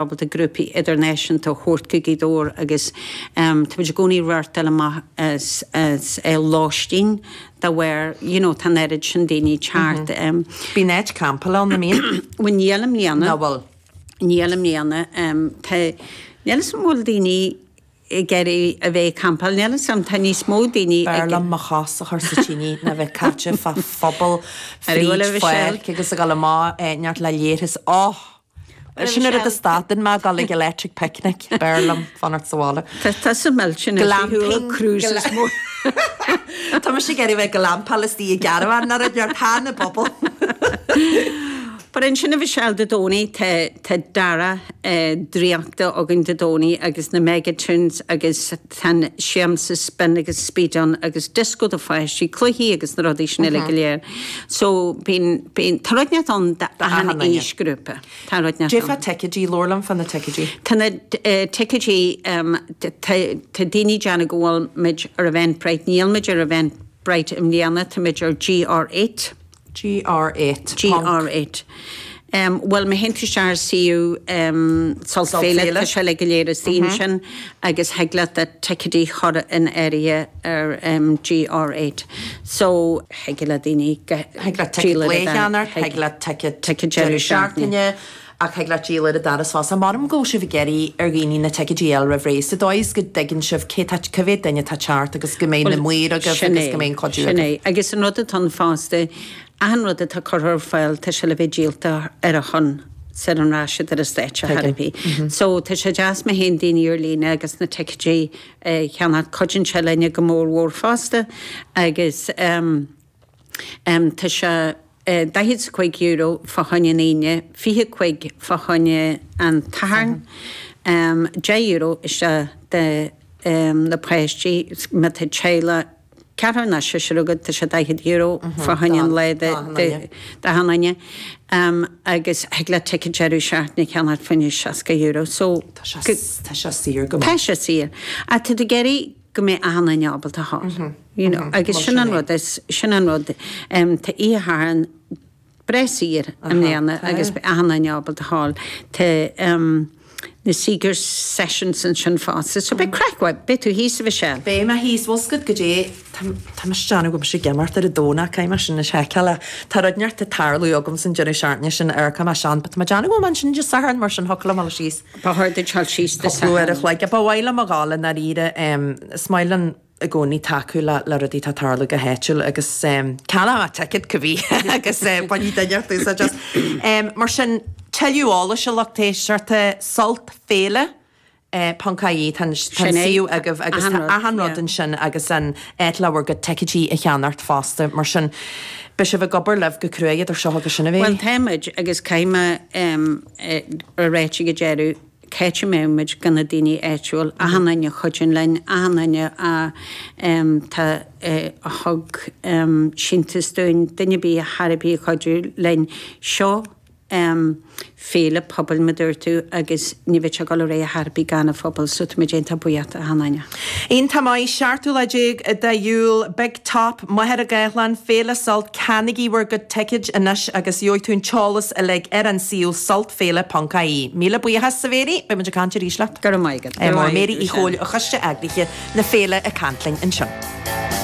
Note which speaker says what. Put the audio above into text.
Speaker 1: Ábalta grúpaí idirnáisiúnta a thabhairt go Gaoth Dobhair agus táimid i gcónaí ag reáchtáil amach as lóistín dá bharr you know tá an oiread sin daoine ag teacht.
Speaker 2: Bíonn áit campála ann, an mbíonn?
Speaker 1: Bhuel níl i mbliana.
Speaker 2: Nach bhfuil?
Speaker 1: Níl i mbliana. Tá, níl 'fhios a'm an bhfuil daoine ag iarraidh a bheith ag campáil, níl 'fhios a'm, tá níos mó daoine
Speaker 2: ag. B'fhearr liom mo chos a chur sa tine ná bheith caite fá phuball fríd pháirc agus a dhul amach neart le léirtheas. Oh! Sin an rud a stadann mé ag dul ag Electric Picnic, b'fhearr liom fanacht sa bhaile.
Speaker 1: Tá tusa millte anois, bhí thú ag cruises mór.
Speaker 2: Tá mise ag iarraidh bheith ag glampáil istigh i gcaravan nó rud ar tá na bpuball.
Speaker 1: But ansin a Mhichelle Dé Domhnaigh tá tá dara draíochta againn Dé Domhnaigh agus na Mega Tunes agus tá an siamsa spin agus speed ann agus disco do pháistí, cluichí agus na rudaí sin uilig go léir. So bíonn, bíonn, tá rud inteacht ann d'achan aoisghrúpa. Tá rud
Speaker 2: inteacht ann. Cad é fá ticéidí, labhair liom fá na ticéidí.
Speaker 1: Tá na ticéidí, tá, tá daoine ag déanamh go bhfuil muid ar Eventbrite, níl muid ar Eventbrite i mbliana, tá muid ar GR8.
Speaker 2: GR8.
Speaker 1: GR8. Bhuel, má théann tú isteach ar suíomh Sult Féile, tá sé uilig go léir istigh ansin agus thig leat do ticéidí a chur in áirithe ar GR8. So, thig le daoine
Speaker 2: go. Thig leat ticéad lae a cheannacht, thig leat ticéad deireadh seachtaine, ach thig leat díol ar an doras fosta. Measaim go bhfuil sibh ag iarraidh ar dhaoine na ticéidí a fháil roimh ré, sa dóigh is go dtuigeann sibh cé tá, cá mhéad duine atá ag teacht agus go mbeidh na maoir agaibh agus go mbeidh an cuidiú
Speaker 1: agaibh. Sin é. Agus an rud atá ann fosta, achan rud atá curtha ar fáil, tá sé le bheith díolta ar a shon sar a rachaidh siad ar an stáitse chor ar bith. So tá sé deas má théann daoine ar líne agus na ticéidí a cheannacht, cuidíonn sé linne go mór mhór fosta agus tá sé €45 fá choinne an Aoine, 25 fá choinne an tSathairn, €10 isteach do na páistí má tá teaghlach ceathrar nó seisear agat tá sé €40 fá choinne an lae d'achan duine agus thig leat ticéad deireadh seachtaine a cheannacht fá choinne €60 so
Speaker 2: Tá sé saor go
Speaker 1: maith. Tá sé saor. Ach tá tú ag iarraidh go mbeidh achan duine ábalta a ghabháil. You know, agus sin an rud is, sin an rud. Tá oíche Shathairn breá saor i mbliana agus beidh achan duine ábalta a ghabháil. Tá na Seeger Sessions ansin fosta. So beidh craic mhaith. Beidh tú thíos, a Mhichelle?
Speaker 2: Beidh mé thíos. Bhfuil 's agat goidé, tá mise ag déanamh go bhfuil mise ag imeacht ar an Domhnach, caithfidh mé sin a sheiceáil. Tá rud inteacht ag tarlú agam san deireadh seachtaine sin ar caithfidh mé sean, but tá mé ag déanamh go bhfuil mé ansin Dé Sathairn mar sin thiocfadh liom a dhul síos.
Speaker 1: Ba chóir duit dul síos
Speaker 2: Dé Sathairn. Cúpla uair a chloig. Ba mhaith liom a ghabháil i ndáiríre. Is maith linn i gcónaí tacú le le rudaí atá ag tarlú go háitiúil agus ceannóidh mé ticéad cibé agus bainfidh duine inteacht úsáid as. Mar sin, tuilleadh eolais a lucht éisteachta, Sult Féile ponc ie, tá an suíomh agaibh agus tá achan rud ansin agus an áit le bhur gcuid ticéidí a cheannacht fosta. Mar sin, beidh sibh ag obair libh go cruaidh idir seo agus sin a
Speaker 1: Bhuel, táimid agus caithfidh mé a ráit ag an deireadh, cá háit a mbeadh muid gan na daoine áitiúil, achan duine a chuidíonn linn, achan duine a tá a thug síntiús dúinn, duine ar bith thar ar bith a chuidiú linn. Seo féile pobail mar a dúirt tú agus ní bheadh sé ag dul ar aghaidh ar chor ar bith gan an phobal so tá muid iontach buíoch d'achan duine.
Speaker 2: Iontach maith, 17ú lá de Iúil, Big Top, Machaire Gathlán, Féile Sult, ceannaígí bhur gcuid ticéid anois agus gheobhaidh tú an t-eolas uilig ar an suíomh sultféile.ie. Míle buíochas, a Mhary, beidh muid ag caint arís leat.
Speaker 1: Go raibh maith agat. Go raibh
Speaker 2: maith agat. Mary Uí Chomhaill, Coiste Eagraithe na Féile ag caint linn ansin.